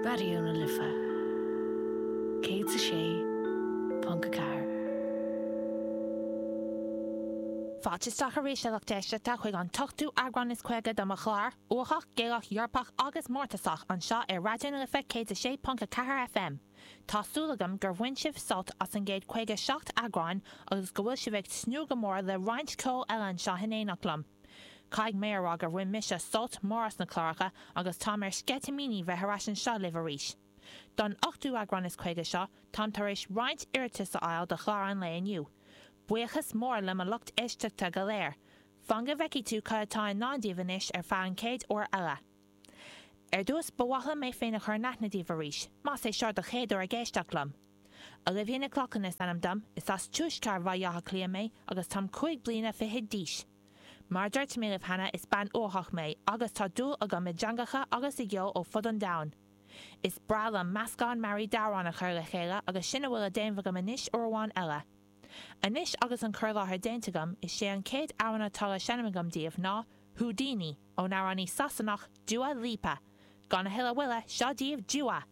Raidió na Life 106.4. Fáilte isteach arís a lucht éisteachta chuig an t-ochtú eagrán is 50 de mo chlár, Uathach, Gaelach, Eorpach agus Mórtasach anseo ar Raidió na Life 106.4 FM. Tá súil agam gur bhain sibh sult as an gcéad 57 eagráin agus go bhfuil sibh ag tnúth go mór le roinnt ceoil eile anseo in éineacht liom. Caithfidh mé a rá gur bhain mise sult mór as na cláracha agus táim ar sceitimíní bheith ar ais anseo libh arís. Don ochtú eagrán is 50 seo, táim tar éis roinnt iarratas a fháil do chlár an lae inniu. Buíochas mór le mo lucht éisteachta go léir. Fan go bhfeicfidh tú cad atá i ndán daoibh anois ar feadh an chéad uair eile. Ar dtús, ba mhaith liom mé féin a chur in aithne daoibh arís, más é seo do chéad uair ag éisteacht liom. Olivia Nic Lochlainn is ainm dom, is as tuaisceart Bhaile Átha Cliath mé agus táim 5 bliana fichead d'aois. Mar a dúirt mé libh cheana, is bean uathach mé agus tá dúil agam i dteangacha agus i gceol ó fud an domhain. Is breá liom meascán mearaí d'amhráin a chur le chéile agus sin a bhfuil le déanamh agam anois uair amháin eile. Anois agus an cur i láthair déanta agam, is é an chéad amhrán atá le seinm agam daoibh ná Houdini ón amhránaí Sasanach Dua Lipa. Gan a thuilleadh moille, seo daoibh Dua!